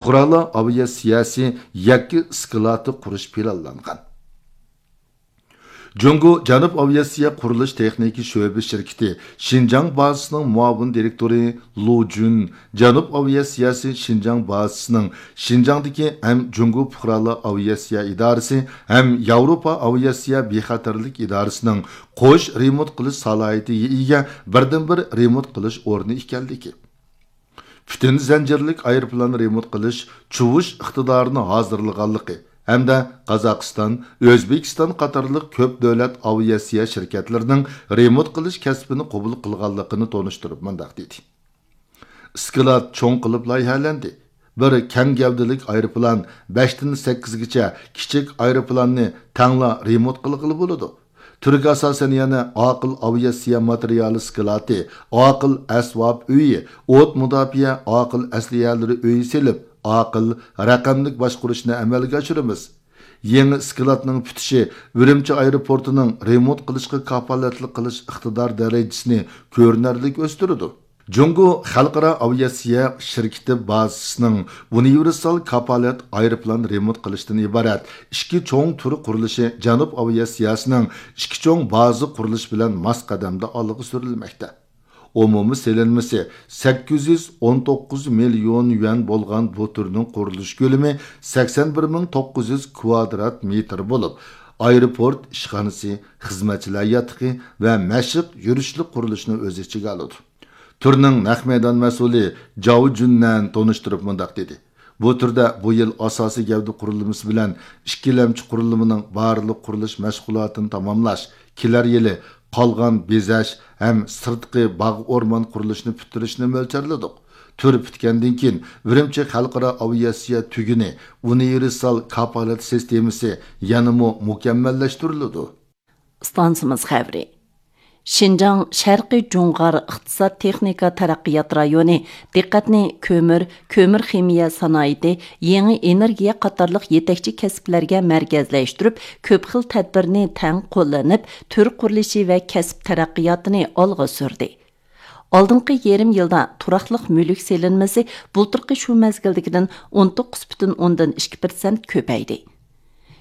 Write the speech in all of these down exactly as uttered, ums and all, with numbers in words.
پۇقرالار ئاۋىئاتسىيەسى يەككە ئىسكىلاتى قۇرۇش پىلانلانغان. جۇڭگو جەنۇب ئاۋىئاتسىيە قۇرۇلۇش تېخنىكا شۆبە شىركىتى شىنجاڭ بازىسىنىڭ مۇئاۋىن دىرېكتورى لۇ جۈن جەنۇب ئاۋىئاتسىيەسى شىنجاڭ بازىسىنىڭ شىنجاڭدىكى ھەم جۇڭگو پۇقرالار ئاۋىئاتسىيە ئىدارىسى ھەم ياۋروپا ئاۋىئاتسىيە بىخەتەرلىك ئىدارىسىنىڭ قوش رېمونت قىلىش سالاھىيىتىگە ئىگە بىردىنبىر رېمونت قىلىش ئورنى ئىكەنلىكى، پۈتۈن زەنجىرلىك ئايروپىلان رېمونت قىلىش چۇۋۇش ئىقتىدارىنى ھازىرلىغانلىقى ھەمدە قازاقىستان، ئۆزبېكىستان قاتارلىق كۆپ دۆلەت ئاۋىئاتسىيە شىركەتلىرىنىڭ رېمونت قىلىش كەسپىنى قوبۇل قىلغانلىقىنى تونۇشتۇرۇپ مۇنداق دېدى: ئىسكىلات چوڭ قىلىپ لايىھەلەندى. بىر كەڭ گەۋدىلىك ئايروپىلان بەشتىن سەككىزگىچە كىچىك ئايروپىلاننى تەڭلا رېمونت قىلغىلى بولىدۇ. تۈرگە ئاساسەن يەنە ئاقىل ئاۋىئاتسىيە ماتېرىيالى ئىسكىلاتى، ئاقىل ئەسۋاب ئۆيى، ئوت مۇداپىئە ئاقىل ئەسلىھەلىرى ئۆيى سېلىپ، ئاقىل رەقەملىك باشقۇرۇشنى ئەمەلگە ئاشۇرىمىز. يېڭى ئىسكىلاتنىڭ پۈتۈشى ئۈرۈمچى ئايروپورتىنىڭ رېمونت قىلىشقا كاپالەتلىك قىلىش ئىقتىدار دەرىجىسىنى كۆرۈنەرلىك ئۆستۈرىدۇ. جۇڭگو خەلقئارا ئاۋىئاتسىيە شىركىتى بازىسىنىڭ ئۇنىۋېرسال كاپالەت ئايروپىلان رېمونت قىلىشتىن ئىبارەت ئىككى چوڭ تۈر قۇرۇلۇشى جەنۇب ئاۋىئاتسىيەسىنىڭ ئىككى چوڭ بازا قۇرۇلۇشى بىلەن ماس قەدەمدە ئالغا سۈرۈلمەكتە. ئومۇمىي سېلىنمىسى سەككىز يۈز ئون توققۇز مىليون يۈەن بولغان بۇ تۈرنىڭ قۇرۇلۇش كۆلىمى سەكسەن بىر مىڭ توققۇز يۈز كۋادرات مېتىر بولۇپ، ئايروپورت ئىشخانىسى، خىزمەتچىلەر ياتىقى ۋە مەشىق يۈرۈشلۈك قۇرۇلۇشنى ئۆز ئىچىگە ئالىدۇ. تۈرنىڭ نەق مەيدان مەسئۇلى جاۋ جۈننەن تونۇشتۇرۇپ مۇنداق دېدى: بۇ تۈردە بۇ يىل ئاساسىي گەۋدە قۇرۇلمىسى بىلەن ئىككىلەمچى قۇرۇلمىنىڭ بارلىق قۇرۇلۇش مەشغۇلاتىنى تاماملاش، كېلەر يىلى قالغان بېزەش ھەم سىرتقى باغ ئورمان قۇرۇلۇشىنى پۈتتۈرۈشنى مۆلچەرلىدۇق. تۈر پۈتكەندىن كېيىن، ئۈرۈمچى خەلقئارا ئاۋىئاتسىيە تۈگۈنى ئۇنىۋېرسال كاپالەت سىستېمىسى يەنىمۇ مۇكەممەللەشتۈرۈلىدۇ. ئىستانسىمىز خەۋىرى. شىنجاڭ شەرقىي جۇڭغار ئىقتىساد تېخنىكا تەرەققىيات رايونى دىققەتنى كۆمۈر، كۆمۈر خىمىيە سانائىتى، يېڭى ئېنېرگىيە قاتارلىق يېتەكچى كەسىپلەرگە مەركەزلەشتۈرۈپ، كۆپ خىل تەدبىرنى تەڭ قوللىنىپ، تۈر قۇرۇلۇشى ۋە كەسىپ تەرەققىياتىنى ئالغا سۈردى. ئالدىنقى يېرىم يىلدا تۇراقلىق مۈلۈك سېلىنمىسى بۇلتۇرقى شۇ مەزگىلدىكىدىن ئون توققۇز پۈتۈن ئوندىن ئىككى پىرسەنت كۆپەيدى.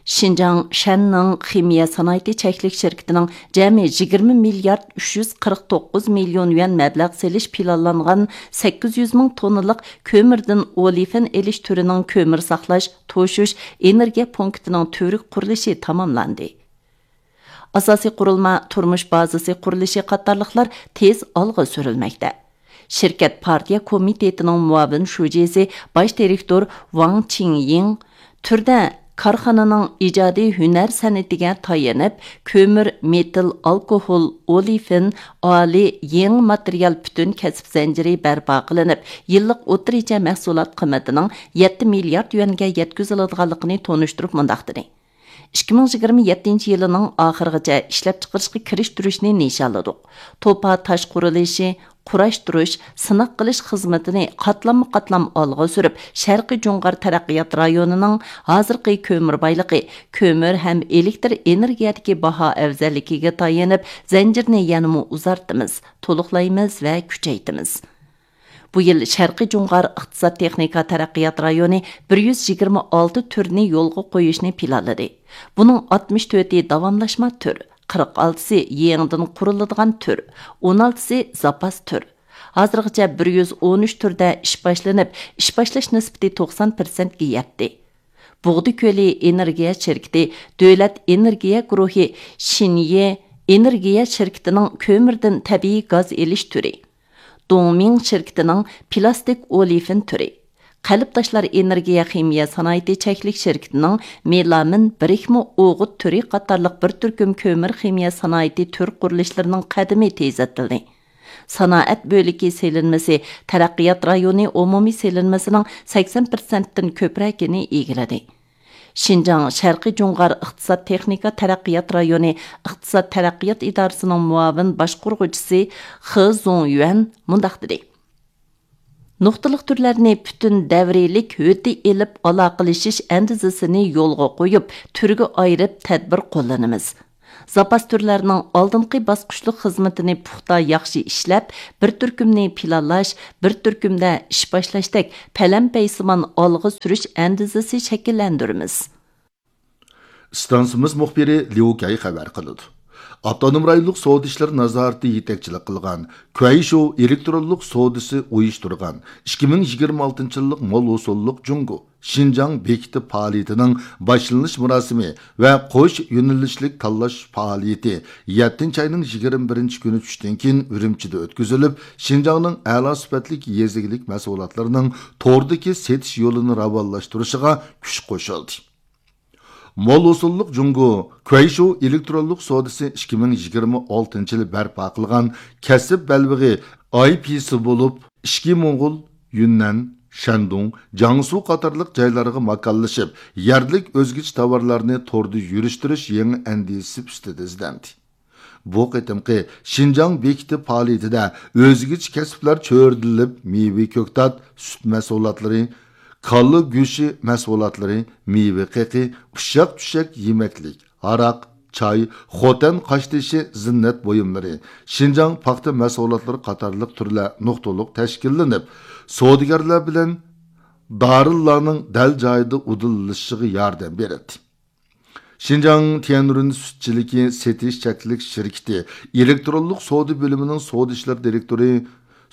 شىنجاڭ شەننىڭ خىمىيە سانائىتى چەكلىك شىركىتىنىڭ جەمئىي يىگىرمە مىليارد ئۈچ يۈز قىرىق توققۇز مىليون يۈەن مەبلەغ سېلىش پىلانلانغان سەككىز يۈز مىڭ توننىلىق كۆمۈردىن ئولېفىن ئېلىش تۈرىنىڭ كۆمۈر ساقلاش، توشۇش، ئېنېرگىيە پونكىتىنىڭ تۈۋرۈك قۇرۇلۇشى تاماملاندى. ئاساسىي قۇرۇلما، تۇرمۇش بازىسى قۇرۇلۇشى قاتارلىقلار تېز ئالغا سۈرۈلمەكتە. شىركەت پارتىيە كومىتېتىنىڭ مۇئاۋىن شۇجىسى، باش دىرېكتور ۋاڭ چىڭيىڭ تۈردە كارخانىنىڭ ئىجادىي ھۈنەر سەنئىتىگە تايىنىپ، كۆمۈر، مېتىل، ئالكوھول، ئولېفىن، ئالىي، يېڭى ماتېرىيال پۈتۈن كەسىپ زەنجىرى بەرپا قىلىنىپ، يىللىق ئوتتۇرىچە مەھسۇلات قىممىتىنىڭ يەتتە مىليارد يۈەنگە يەتكۈزۈلىدىغانلىقىنى تونۇشتۇرۇپ مۇنداق دېدى. ئىككى مىڭ يىگىرمە يەتتىنچى يىلىنىڭ ئاخىرىغىچە ئىشلەپچىقىرىشقا كىرىشتۈرۈشنى نىشانلىدۇق. توپا تاش قۇرۇلۇشى، قۇراشتۇرۇش، سىناق قىلىش خىزمىتىنى قاتلاممۇ قاتلام ئالغا سۈرۈپ، شەرقىي جۇڭغار تەرەققىيات رايونىنىڭ ھازىرقى كۆمۈر بايلىقى، كۆمۈر ھەم ئېلېكتر ئېنېرگىيەدىكى باھا ئەۋزەللىكىگە تايىنىپ، زەنجىرنى يەنىمۇ ئۇزارتىمىز، تولۇقلايمىز ۋە كۈچەيتىمىز. بۇ يىل شەرقىي جۇڭغار ئىقتىساد تېخنىكا تەرەققىيات رايونى بىر يۈز يىگىرمە ئالتە تۈرنى يولغا قويۇشنى پىلانلىدى. بۇنىڭ ئاتمىش تۆتى داۋاملاشما تۈر، قىرىق ئالتىسى يېڭىدىن قۇرۇلىدىغان تۈر، ئون ئالتىسى زاپاس تۈر. ھازىرغىچە بىر يۈز ئون ئۈچ تۈردە ئىش باشلىنىپ، ئىش باشلاش نىسبىتى توقسان پىرسەنتكە يەتتى. بۇغدا كۆلى ئېنېرگىيە شىركىتى دۆلەت ئېنېرگىيە گۇرۇھى شىنيې ئېنېرگىيە شىركىتىنىڭ كۆمۈردىن تەبىئىي گاز ئېلىش تۈرى، دۇڭمىڭ شىركىتىنىڭ پىلاستىك ئولېفىن تۈرى، قەلب تاشلار ئېنېرگىيە خىمىيە سانائىتى چەكلىك شىركىتىنىڭ مېلامىن بىرىكمە ئوغۇت تۈرى قاتارلىق بىر تۈركۈم كۆمۈر خىمىيە سانائىتى تۈر قۇرۇلۇشلىرىنىڭ قەدىمى تېزلىتىلدى. سانائەت بۆلىكى سېلىنمىسى تەرەققىيات رايونى ئومۇمىي سېلىنمىسىنىڭ سەكسەن پىرسەنتتىن كۆپرەكىنى ئىگىلىدى. شىنجاڭ شەرقىي جۇڭغار ئىقتىساد تېخنىكا تەرەققىيات رايونى ئىقتىساد تەرەققىيات ئىدارىسىنىڭ مۇئاۋىن باشقۇرغۇچىسى خې زۇڭيۈەن مۇنداق دېدى: نۇقتىلىق تۈرلەرنى پۈتۈن دەۋرىيلىك ھۆددە ئېلىپ ئالاقىلىشىش ئەندىزىسىنى يولغا قويۇپ، تۈرگە ئايرىپ تەدبىر قوللىنىمىز. زاپاس تۈرلەرنىڭ ئالدىنقى باسقۇچلۇق خىزمىتىنى پۇختا ياخشى ئىشلەپ، بىر تۈركۈمنى پىلانلاش، بىر تۈركۈمدە ئىش باشلاشتەك پەلەمپەيسىمان ئالغا سۈرۈش ئەندىزىسى شەكىللەندۈرىمىز. ئىستانسىمىز مۇخبىرى ليۇ كەي خەۋەر قىلىدۇ. ئاپتونوم رايونلۇق سودا ئىشلىرى نازارىتى يېتەكچىلىك قىلغان كۇەيشۇ ئېلېكترونلۇق سودىسى ئۇيۇشتۇرغان ئىككى مىڭ يىگىرمە ئالتىنچى يىللىق مول ھوسۇللۇق جۇڭگو شىنجاڭ بېكىتى پائالىيىتىنىڭ باشلىنىش مۇراسىمى ۋە قوش يۆنىلىشلىك تاللاش پائالىيىتى يەتتىنچى ئاينىڭ يىگىرمە بىرىنچى كۈنى چۈشتىن كېيىن ئۈرۈمچىدە ئۆتكۈزۈلۈپ، شىنجاڭنىڭ ئەلا سۈپەتلىك يېزا ئىگىلىك مەھسۇلاتلىرىنىڭ توردىكى سېتىش يولىنى راۋانلاشتۇرۇشىغا كۈچ قوشۇلدى. مول ھوسۇللۇق جۇڭگو كۇەيشۇ ئېلېكترونلۇق سودىسى ئىككى مىڭ يىگىرمە ئالتىنچى يىلى بەرپا قىلغان كەسىپ بەلبېغى ئاي پىسى بولۇپ، ئىچكى موڭغۇل، يۈننەن، شەندۇڭ، جياڭسۇ قاتارلىق جايلارغا ماكانلىشىپ، يەرلىك ئۆزگىچە تاۋارلارنى توردا يۈرۈشتۈرۈش يېڭى ئەندىزىسى ئۈستىدە ئىزدەندى. بۇ قېتىمقى شىنجاڭ بېكىتى پائالىيىتىدە ئۆزگىچە كەسىپلەر چۆرىدىلىپ، مېۋە كۆكتات، سۈت مەھسۇلاتلىرى، كالا گۆشى مەھسۇلاتلىرى، مېۋە قېقى، ئۇششاق چۈشەك يېمەكلىك، ھاراق، چاي، خوتەن قاشتېشى زىننەت بۇيۇملىرى، شىنجاڭ پاختا مەھسۇلاتلىرى قاتارلىق تۈرلەر نۇقتىلىق تەشكىللىنىپ، سودىگەرلەر بىلەن دارىنلارنىڭ دەل جايىدا ئۇدۇللىشىشىغا ياردەم بېرىلدى. شىنجاڭ تيەنرۇن سۈتچىلىكى سېتىش چەكلىك شىركىتى ئېلېكترونلۇق سودا بۆلۈمىنىڭ سودا ئىشلىرى دىرېكتورى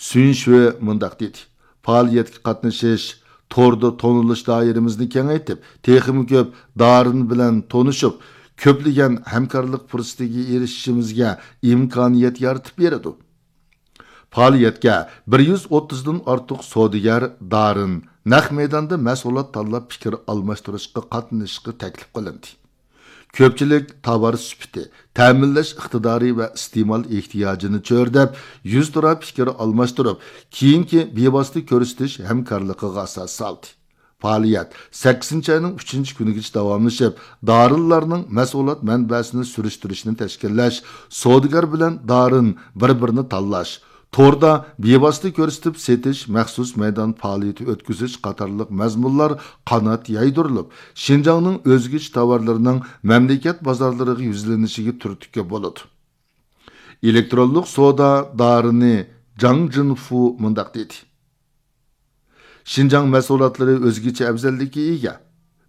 سۈن شۈې مۇنداق دېدى: پائالىيەتكە قاتنىشىش، توردا تونۇلۇش دائىرىمىزنى كېڭەيتىپ، تېخىمۇ كۆپ دارىن بىلەن تونۇشۇپ، كۆپلىگەن ھەمكارلىق پۇرسىتىگە ئېرىشىشىمىزگە ئىمكانىيەت يارىتىپ بېرىدۇ. پائالىيەتكە بىر يۈز ئوتتۇزدىن ئارتۇق سودىگەر دارىن، نەق مەيداندا مەھسۇلات تاللاپ پىكىر ئالماشتۇرۇشقا قاتنىشىشقا تەكلىپ قىلىندى. كۆپچىلىك تاۋار سۈپىتى، تەمىنلەش ئىقتىدارى ۋە ئىستېمال ئېھتىياجىنى چۆرىدەپ، يۈزتۇرا پىكىر ئالماشتۇرۇپ، كېيىنكى بىۋاسىتە كۆرسىتىش ھەمكارلىقىغا ئاساس سالدى. پائالىيەت سەككىزىنچى ئاينىڭ ئۈچىنچى كۈنىگىچە داۋاملىشىپ، دارىنلارنىڭ مەھسۇلات مەنبەسىنى سۈرۈشتۈرۈشنى تەشكىللەش، سودىگەر بىلەن دارىن بىر-بىرىنى تاللاش، توردا بىۋاسىتە كۆرسىتىپ سېتىش، مەخسۇس مەيدان پائالىيىتى ئۆتكۈزۈش قاتارلىق مەزمۇنلار قانات يايدۇرۇلۇپ، شىنجاڭنىڭ ئۆزگىچە تاۋارلىرىنىڭ مەملىكەت بازارلىرىغا يۈزلىنىشىگە تۈرتكە بولىدۇ. ئېلېكترونلۇق سودا دارىنى جاڭ جىنفۇ مۇنداق دېدى: شىنجاڭ مەھسۇلاتلىرى ئۆزگىچە ئەۋزەللىككە ئىگە.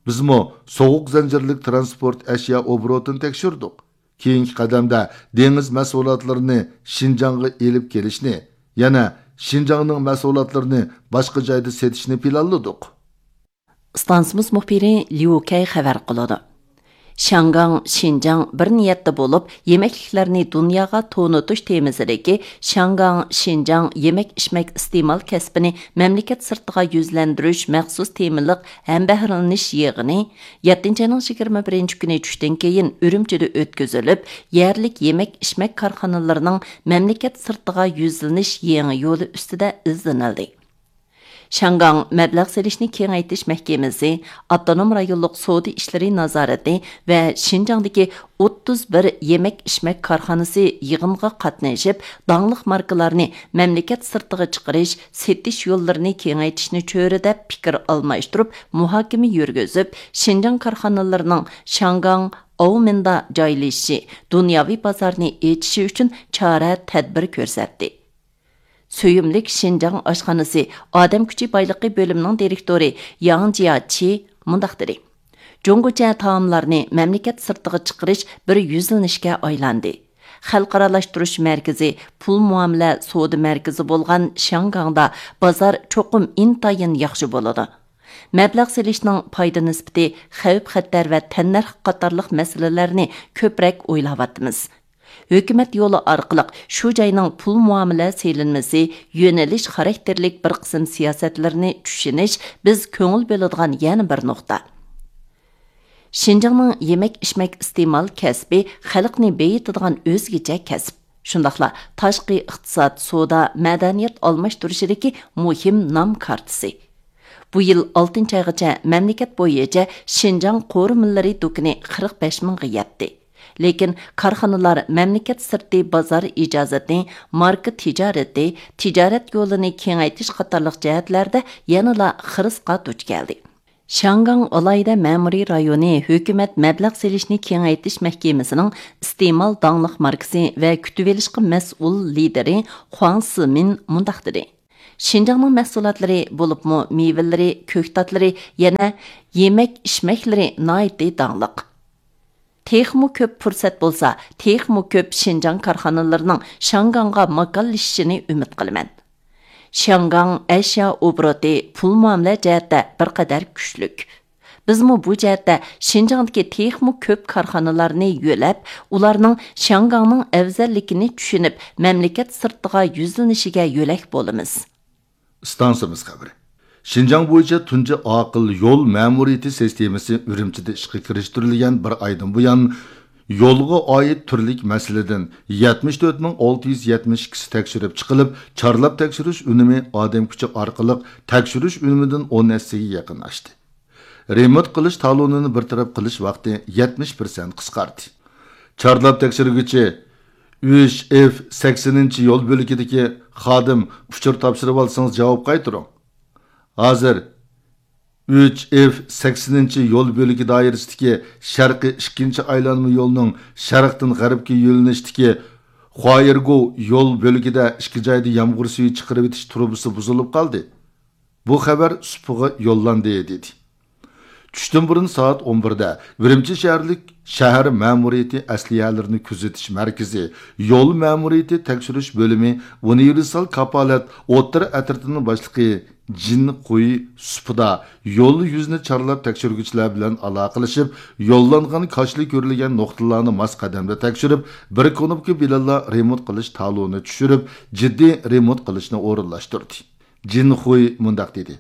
بىزمۇ سوغۇق زەنجىرلىك تىرانسپورت ئەشيا ئوبوروتىنى تەكشۈردۇق. كېيىنكى قەدەمدە دېڭىز مەھسۇلاتلىرىنى شىنجاڭغا ئېلىپ كېلىشنى، يەنە شىنجاڭنىڭ مەھسۇلاتلىرىنى باشقا جايدا سېتىشنى پىلانلىدۇق. ئىستانسىمىز مۇخبىرى ليۇ كەي خەۋەر قىلىدۇ. شياڭگاڭ، شىنجاڭ بىر نىيەتتە بولۇپ، يېمەكلىكلەرنى دۇنياغا تونۇتۇش تېمىسىدىكى شياڭگاڭ، شىنجاڭ يېمەك-ئىچمەك ئىستېمال كەسپىنى مەملىكەت سىرتىغا يۈزلەندۈرۈش مەخسۇس تېمىلىق ھەمبەھىرلىنىش يىغىنى يەتتىنچى ئاينىڭ يىگىرمە بىرىنچى كۈنى چۈشتىن كېيىن ئۈرۈمچىدە ئۆتكۈزۈلۈپ، يەرلىك يېمەك-ئىچمەك كارخانىلىرىنىڭ مەملىكەت سىرتىغا يۈزلىنىش يېڭى يولى ئۈستىدە ئىزدىنىلدى. شياڭگاڭ مەبلەغ سېلىشنى كېڭەيتىش مەھكىمىسى، ئاپتونوم رايونلۇق سودا ئىشلىرى نازارىتى ۋە شىنجاڭدىكى ئوتتۇز بىر يېمەك-ئىچمەك كارخانىسى يىغىنغا قاتنىشىپ، داڭلىق ماركىلارنى مەملىكەت سىرتىغا چىقىرىش، سېتىش يوللىرىنى كېڭەيتىشنى چۆرىدەپ پىكىر ئالماشتۇرۇپ، مۇھاكىمە يۈرگۈزۈپ، شىنجاڭ كارخانىلىرىنىڭ شياڭگاڭ، ئاۋمېندا جايلىشىشى، دۇنياۋى بازارنى ئېچىشى ئۈچۈن چارە، تەدبىر كۆرسەتتى. سۆيۈملۈك شىنجاڭ ئاشخانىسى ئادەم كۈچى بايلىقى بۆلۈمىنىڭ دىرېكتورى ياڭ جياچى مۇنداق دېدى: جۇڭگوچە تائاملارنى مەملىكەت سىرتىغا چىقىرىش بىر يۈزلىنىشكە ئايلاندى. خەلقئارالاشتۇرۇش مەركىزى، پۇل مۇئامىلە سودا مەركىزى بولغان شياڭگاڭدا بازار چوقۇم ئىنتايىن ياخشى بولىدۇ. مەبلەغ سېلىشنىڭ پايدا نىسبىتى، خەۋپ-خەتەر ۋە تەننەرخ قاتارلىق مەسىلىلەرنى كۆپرەك ئويلاۋاتىمىز. ھۆكۈمەت يولى ئارقىلىق شۇ جاينىڭ پۇل مۇئامىلە سېلىنمىسى، يۆنىلىش خاراكتېرلىك بىر قىسىم سىياسەتلىرىنى چۈشىنىش بىز كۆڭۈل بۆلىدىغان يەنە بىر نۇقتا. شىنجاڭنىڭ يېمەك-ئىچمەك ئىستېمال كەسپى خەلقنى بېيىتىدىغان ئۆزگىچە كەسىپ. شۇنداقلا تاشقى ئىقتىساد، سودا، مەدەنىيەت ئالماشتۇرۇشىدىكى مۇھىم نام كارتىسى. بۇ يىل ئالتىنچى ئايغىچە مەملىكەت بويىچە شىنجاڭ قورۇمىلىرى دۇكىنى قىرىق بەش مىڭغا يەتتى. لېكىن كارخانىلار مەملىكەت سىرتى بازار ئىجازىتى، ماركا تىجارىتى، تىجارەت يولىنى كېڭەيتىش قاتارلىق جەھەتلەردە يەنىلا خىرىسقا دۇچ كەلدى. شياڭگاڭ ئالاھىدە مەمۇرىي رايونى ھۆكۈمەت مەبلەغ سېلىشنى كېڭەيتىش مەھكىمىسىنىڭ ئىستېمال داڭلىق ماركىسى ۋە كۈتۈۋېلىشقا مەسئۇل لىدىرى خۇاڭ سىمىن مۇنداق دېدى: شىنجاڭنىڭ مەھسۇلاتلىرى، بولۇپمۇ مېۋىلىرى، كۆكتاتلىرى، يەنە يېمەك ئىچمەكلىرى ناھايىتى داڭلىق. تېخىمۇ كۆپ پۇرسەت بولسا، تېخىمۇ كۆپ شىنجاڭ كارخانىلىرىنىڭ شياڭگاڭغا ماكانلىشىشىنى ئۈمىد قىلىمەن. شياڭگاڭ ئەشيا ئوبوروتى، پۇل مۇئامىلە جەھەتتە بىر قەدەر كۈچلۈك. بىزمۇ بۇ جەھەتتە شىنجاڭدىكى تېخىمۇ كۆپ كارخانىلارنى يۆلەپ، ئۇلارنىڭ شياڭگاڭنىڭ ئەۋزەللىكىنى چۈشىنىپ، مەملىكەت سىرتىغا يۈزلىنىشىگە يۆلەك بولىمىز. ئىستانسىمىز خەۋىرى. شىنجاڭ بويىچە تۇنجى ئاقىل يول مەمۇرىيىتى سىستېمىسى ئۈرۈمچىدە ئىشقا كىرىشتۈرۈلگەن بىر ئايدىن بۇيان، يولغا ئائىت تۈرلۈك مەسىلىدىن يەتمىش تۆت مىڭ ئالتە يۈز يەتمىش ئىككىسى تەكشۈرۈپ چىقىلىپ، چارلاپ تەكشۈرۈش ئۈنۈمى ئادەم كۈچى ئارقىلىق تەكشۈرۈش ئۈنۈمىدىن ئون ھەسسىگە يېقىن ئاشتى. رېمونت قىلىش تالونىنى بىر تەرەپ قىلىش ۋاقتى يەتمىش پىرسەنت قىسقاردى. چارلاپ تەكشۈرگۈچى ئۈچ ئېف سەكسىنىنچى يول بۆلىكىدىكى خادىم ئۇچۇر تاپشۇرۇۋالسىڭىز جاۋاب قايتۇرۇڭ. ھازىر ئۈچ ئېف سەكسىنىنچى يول بۆلىكى دائىرىسىدىكى شەرقىي ئىككىنچى ئايلانما يولنىڭ شەرقتىن غەربكە يۆنىلىشتىكى خۇايېرگو يول بۆلىكىدە ئىككى جايدا يامغۇر سۈيى چىقىرىۋېتىش تۇرۇبىسى بۇزۇلۇپ قالدى. بۇ خەۋەر سۇپىغا يوللاندى، دېدى. چۈشتىن بۇرۇن سائەت ئون بىردە ئۈرۈمچى شەھەرلىك شەھەر مەمۇرىيىتى ئەسلىھەلىرىنى كۆزىتىش مەركىزى، يول مەمۇرىيىتى تەكشۈرۈش بۆلۈمى ئۇنىۋېرسال كاپالەت ئوتتۇرا ئەترىتىنىڭ باشلىقى جىن خۇي سۇپىدا يول يۈزىنى چارلاپ تەكشۈرگۈچىلەر بىلەن ئالاقىلىشىپ، يوللانغان كاشىلا كۆرۈلگەن نۇقتىلارنى ماس قەدەمدە تەكشۈرۈپ، بىر كۇنۇپكا بىلەنلا رېمونت قىلىش تالونى چۈشۈرۈپ، جىددىي رېمونت قىلىشنى ئورۇنلاشتۇردى. جىن خۇي مۇنداق دېدى: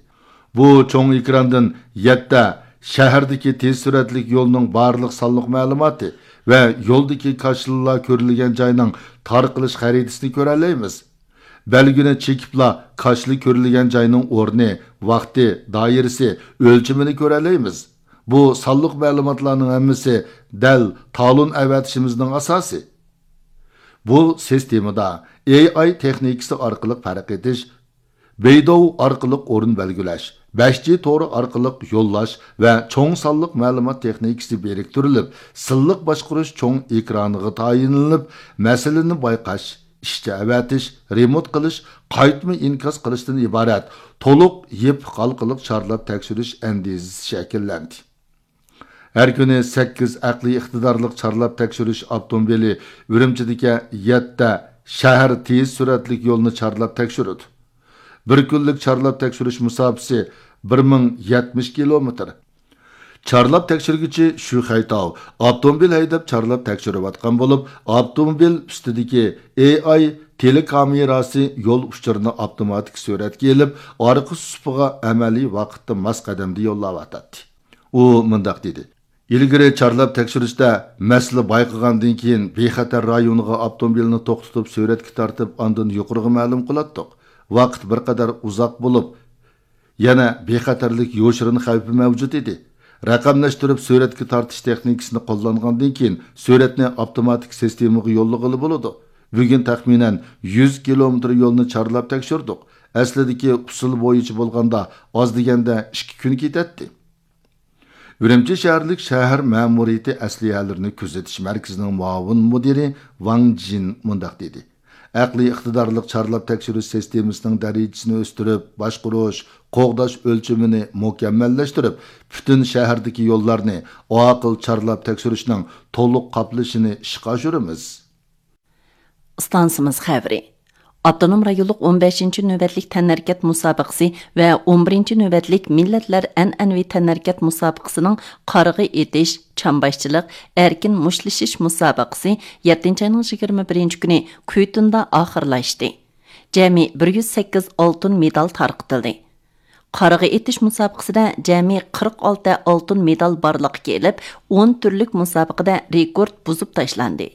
بۇ چوڭ ئېكراندىن يەتتە شەھەردىكى تېز سۈرئەتلىك يولنىڭ بارلىق سانلىق مەلۇماتى ۋە يولدىكى كاشىلىلار كۆرۈلگەن جاينىڭ تارقىلىش خەرىتىسىنى كۆرەلەيمىز. بەلگىنى چېكىپلا كاشىلا كۆرۈلگەن جاينىڭ ئورنى، ۋاقتى، دائىرىسى، ئۆلچىمىنى كۆرەلەيمىز. بۇ سانلىق مەلۇماتلارنىڭ ھەممىسى دەل تالون ئەۋەتىشىمىزنىڭ ئاساسى. بۇ سىستېمىدا ئېي ئاي تېخنىكىسى ئارقىلىق پەرق ئېتىش، بېيدوۋ ئارقىلىق ئورۇن بەلگىلەش، بەش جى تورى ئارقىلىق يوللاش ۋە چوڭ سانلىق مەلۇمات تېخنىكىسى بىرىكتۈرۈلۈپ، سىنلىق باشقۇرۇش چوڭ ئېكرانىغا تايىنلىنىپ، مەسىلىنى بايقاش، ئىشچى ئەۋەتىش، رېمونت قىلىش، قايتما ئىنكاس قىلىشتىن ئىبارەت تولۇق يېپىق ھالقىلىق چارلاپ تەكشۈرۈش ئەندىزىسى شەكىللەندى. ھەر كۈنى سەككىز ئەقلىي ئىقتىدارلىق چارلاپ تەكشۈرۈش ئاپتوموبىلى ئۈرۈمچىدىكى يەتتە شەھەر تېز سۈرئەتلىك يولنى چارلاپ تەكشۈرىدۇ. بىر كۈنلۈك چارلاپ تەكشۈرۈش مۇساپىسى بىر مىڭ يەتمىش كىلومېتىر. چارلاپ تەكشۈرگۈچى شۈ خەيتاۋ ئاپتوموبىل ھەيدەپ چارلاپ تەكشۈرۈۋاتقان بولۇپ، ئاپتوموبىل ئۈستىدىكى ئېي ئاي تېلېكامېراسى يول ئۇچۇرىنى ئاپتوماتىك سۈرەتكە ئېلىپ، ئارقا سۇپىغا ئەمەلىي ۋاقىتتا ماس قەدەمدە يوللاۋاتاتتى. ئۇ مۇنداق دېدى: ئىلگىرى چارلاپ تەكشۈرۈشتە مەسىلە بايقىغاندىن كېيىن، بىخەتەر رايونىغا ئاپتوموبىلنى توختىتىپ، سۈرەتكە تارتىپ، ئاندىن يۇقىرىغا مەلۇم قىلاتتۇق. ۋاقىت بىر قەدەر ئۇزاق بولۇپ، يەنە بىخەتەرلىك يوشۇرۇن خەۋپى مەۋجۇت ئىدى. رەقەملەشتۈرۈپ سۈرەتكە تارتىش تېخنىكىسىنى قوللانغاندىن كېيىن، سۈرەتنى ئاپتوماتىك سىستېمىغا يوللىغىلى بولىدۇ. بۈگۈن تەخمىنەن يۈز كىلومېتىر يولنى چارلاپ تەكشۈردۇق. ئەسلىدىكى ئۇسۇل بويىچە بولغاندا، ئاز دېگەندە ئىككى كۈن كېتەتتى. ئۈرۈمچى شەھەرلىك شەھەر مەمۇرىيىتى ئەسلىھەلىرىنى كۆزىتىش مەركىزىنىڭ مۇئاۋىن مۇدىرى ۋاڭ جىن مۇنداق دېدى: ئەقلىي ئىقتىدارلىق چارلاپ تەكشۈرۈش سىستېمىسىنىڭ دەرىجىسىنى ئۆستۈرۈپ، باشقۇرۇش، قوغداش ئۆلچىمىنى مۇكەممەللەشتۈرۈپ، پۈتۈن شەھەردىكى يوللارنى ئاقىل چارلاپ تەكشۈرۈشنىڭ تولۇق قاپلىشىنى ئىشقا ئاشۇرىمىز. ئىستانسىمىز خەۋىرى. ئاپتونوم رايونلۇق ئون بەشىنچى نۆۋەتلىك تەنھەرىكەت مۇسابىقىسى ۋە ئون بىرىنچى نۆۋەتلىك مىللەتلەر ئەنئەنىۋى تەنھەرىكەت مۇسابىقىسىنىڭ قارىغا ئېتىش، چامباشچىلىق، ئەركىن مۇشتلىشىش مۇسابىقىسى يەتتىنچى ئاينىڭ يىگىرمە بىرىنچى كۈنى كۈيتۇندا ئاخىرلاشتى. جەمئىي بىر يۈز سەككىز ئالتۇن مېدال تارقىتىلدى. قارىغا ئېتىش مۇسابىقىسىدە جەمئىي قىرىق ئالتە ئالتۇن مېدال بارلىققا كېلىپ، ئون تۈرلۈك مۇسابىقىدە رېكورت بۇزۇپ تاشلاندى.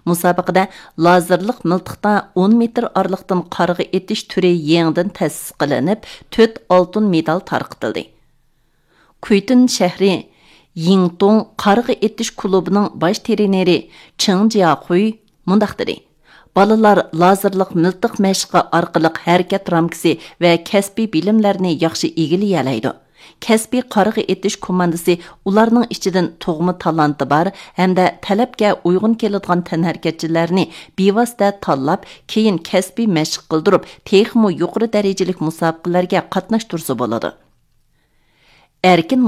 مۇسابىقىدە لازېرلىق مىلتىقتا ئون مېتىر ئارىلىقتىن قارىغا ئېتىش تۈرى يېڭىدىن تەسىس قىلىنىپ، تۆت ئالتۇن مېدال تارقىتىلدى. كۇيتۇن شەھىرى يىڭتۇڭ قارىغا ئېتىش كۇلۇبىنىڭ باش ترېنېرى چېڭ جياخۇي مۇنداق دېدى: بالىلار لازېرلىق مىلتىق مەشقى ئارقىلىق ھەرىكەت رامكىسى ۋە كەسپىي بىلىملەرنى ياخشى ئىگىلىيەلەيدۇ. كەسپىي قارىغا ئېتىش كوماندىسى ئۇلارنىڭ ئىچىدىن تۇغما تالانتى بار ھەمدە تەلەپكە ئۇيغۇن كېلىدىغان تەنھەرىكەتچىلەرنى بىۋاسىتە تاللاپ، كېيىن كەسپىي مەشىق قىلدۇرۇپ، تېخىمۇ يۇقىرى دەرىجىلىك مۇسابىقىلەرگە قاتناشتۇرسا بولىدۇ. ئەركىن